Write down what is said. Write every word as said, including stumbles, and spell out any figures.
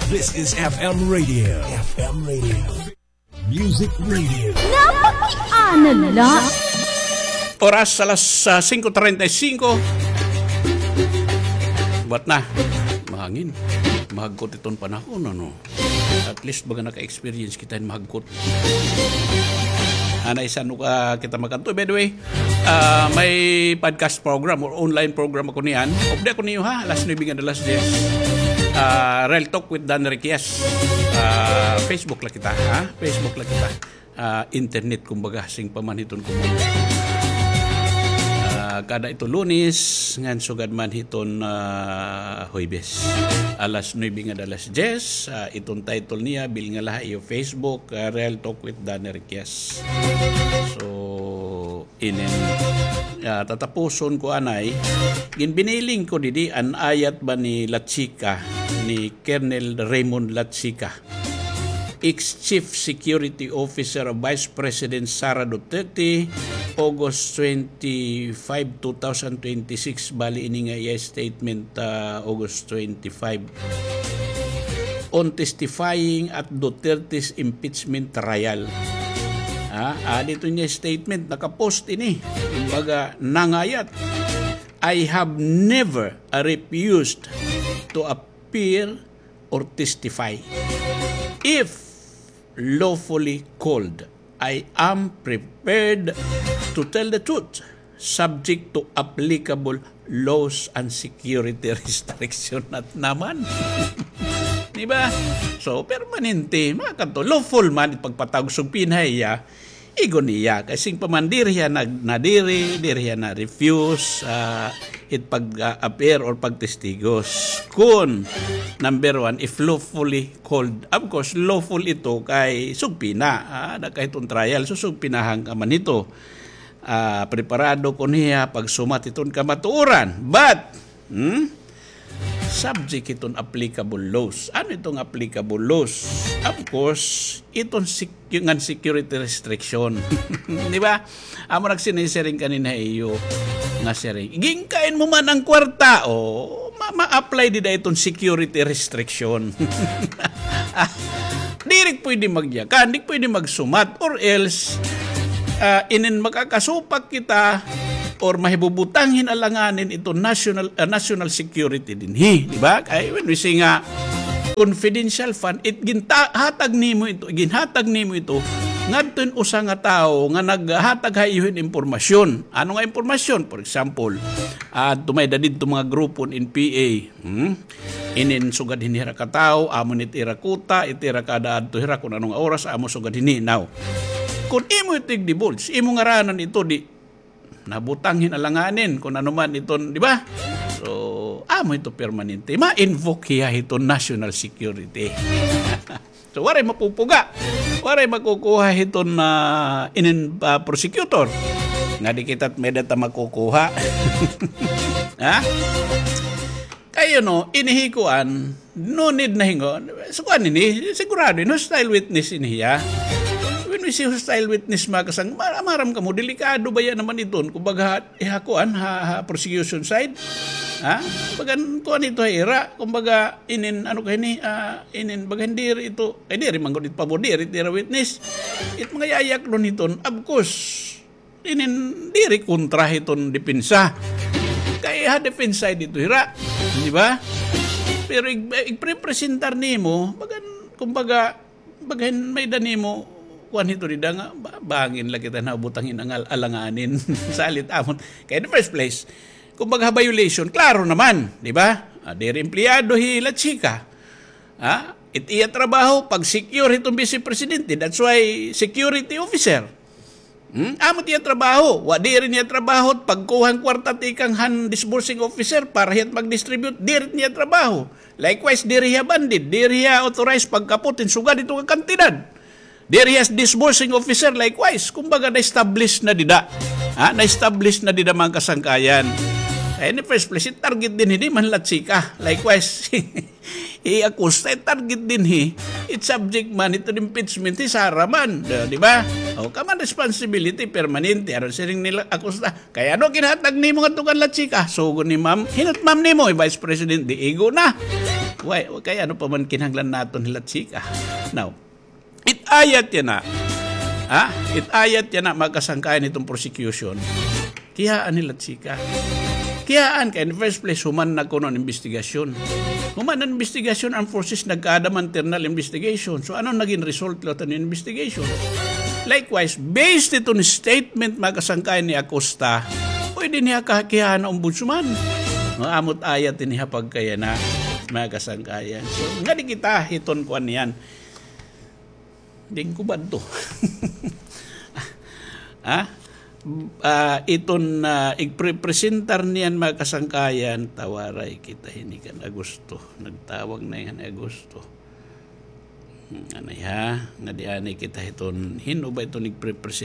This is F M Radio. F M Radio. Music Radio. Napakiana la. Oras alas, ah, singko treinta y cinco. Buwat na. Mahangin. Mahagkot iton panahon, ano? At least, baga naka-experience kita hin mahagkot. Anay, san-o ka kita makadto? By the way, ah, may podcast program or online program ako niyan. Updi ako niyo, ha? Alas nuebe ngada alas diyes. Ah, Real Talk with Dan Riquez. Ah, Facebook la kita, ha? Facebook la kita. Ah, internet, kumbaga, sing pa man hiton, kumbaga. Ah, kada ito Lunes, ngan sugad man hiton, ah, Huwebes. Alas nuebe ngada alas diyes, ah, iton title niya, bilnga la ha iyo Facebook, ah, Real Talk with Dan Riquez. So, inin, ah, tatapuson ko anay, ginbiniling ko didi an ayat ba ni La Chica, ni Colonel Raymond La Chica, ex-Chief Security Officer of Vice President Sara Duterte, August twenty-five, two thousand twenty-six, bali ini nga iya statement, ah, August twenty-five, on testifying at Duterte's impeachment trial. Ah, ah, dito niya statement, nakapost ini. Kumbaga, nangayat, "I have never, uh, refused to appear or testify. If lawfully called, I am prepared to tell the truth, subject to applicable laws and security restriction." At naman. Di ba? So, permanente, mga kanto, lawful man it pagpatawag subpoena ha iya, igo niya. Kay sing pa man, diri hiya nag-, nadiri, diri hiya na-refuse, ah, it pag, ah, appear or pagtestigos. Kun, number one, if lawfully called. Of course, lawful ito kay subpoena. Ah, nagkahiton trial, so subpoenahan ka man ito. Ah, preparado kon hiya pagsumat hiton kamatuoran. But, hmm? Subject hiton applicable laws. Ano iton applicable laws? Of course, iton sec-, ngan security restriction. Di ba? Amo nagsinisiring kanina iyo nga siring. Ginkain mo man ang kwarta, o, ma-, ma-apply dida iton security restriction. Ah, diri pwede magyakan, di pwede magsumat, or else, ah, inin makakasupak kita, or mahibubutang hin alanganin ito national, ah, national security dinhi, di ba? Kay when we say nga confidential fund, it ginta-, hatag nimo ito, ginhatag nimo ito ngadto hin usa nga tawo nga naghatag ha iyo hin impormasyon. Ano nga impormasyon? For example, ah, adto may-ada didto mga grupo hin N P A. Hmm? Inin sugad hini hira ka tawo, amo ni it ira kuta, it ira kada adto hira kun ano nga oras, amo sugad hini. Now, kun imo ito igdibulge, imo ngaranan ito, di nabutang hin alanganin, kun ano man iton, di ba? So, amo ito permanente. Ma-invoke hiya hiton national security. So, waray mapupuga. Waray makukuha hiton, ah, inin, ah, prosecutor. Nga di kita may-ada ta makukuha. Ha? Kay, you know, ini hi kuan, no need na hingo. So, kuan ini, sigurado ini, hostile witness ini hiya. When we say hostile witness, mga kasang, ma-, maaram kamo, delikado baya naman iton. Kumbaga, eh, ha kuan, ha, ha prosecution side. Ha? Kumbaga, kuan ito ha ira. Kumbaga, inin, ano ka ini, ah, inin, baga, diri ito, eh, diri man gud it pabor, diri, diri witness. It mga yayaklon hiton, of course, inin diri kontra hiton depensa. Kay ha depensa ito hira, di ba? Pero ig-, igprepresentar nimo, bagan, kumbaga, bagan may-ada nimo, kuan hito dida nga, ba-, bangin la kita nabutang hin angal-, alanganin, salit amon. Kay in the first place, kumbaga ha violation, klaro naman, di ba? Ah, diri empleyado hi La Chica. Ha? It iya trabaho, pag-secure hiton Vice Presidente. That's why security officer. Hmm? Amo it iya trabaho. Wa, diri niya trabaho pagkuha han kwarta tikang han disbursing officer para hiya it mag-distribute. Diri it niya trabaho. Likewise, diri hiya bandid. Diri hiya authorized pagkapot hin sugad hito nga kantidad. Diri hiya disbursing officer, likewise. Kumbaga, na-establish na dida. Ha? Na-establish na dida, mga kasangkayan. Kay in the first place, it target dinhi, di man La Chica. Likewise, hi Acosta, it target dinhi. It subject man hiton impeachment, hi Sara man. Di, di ba? O, common responsibility, permanente. Ano siring nila Acosta? Kay ano ginhatag nimo ngadto kan La Chica? Sugo ni ma'am. Hin-o it ma'am nimo, hi Vice President, di igo na. Why? Kay ano pa man kinahanglan naton hila chika? Now, it-ayat yana. Ha? It-ayat yana, mga kasangkayan, iton prosecution. Kiyaan hila chika. Kiyaan kay in the first place, human na kuno an investigasyon. Human an investigasyon, armed forces nagkaada man internal investigation. So, ano naging result la iton investigation? Likewise, based iton statement, mga kasangkayan, ni Acosta, pwede niya ka-, kiyaan an ombudsman. Mga amo it-ayat ini ha pagkayana, mga kasangkayan. So, ngadi kita hiton kuan niyan. Diri ko ba ito? Ha? Ah, iton, ah, igprepresentar niyan, mga kasangkayan, tawaray kita hini kan Agosto. Nagtawag na ini kan Agosto. Hmm, anay ha? Ngadi anay kita hiton, hin-o ba iton igprepresent-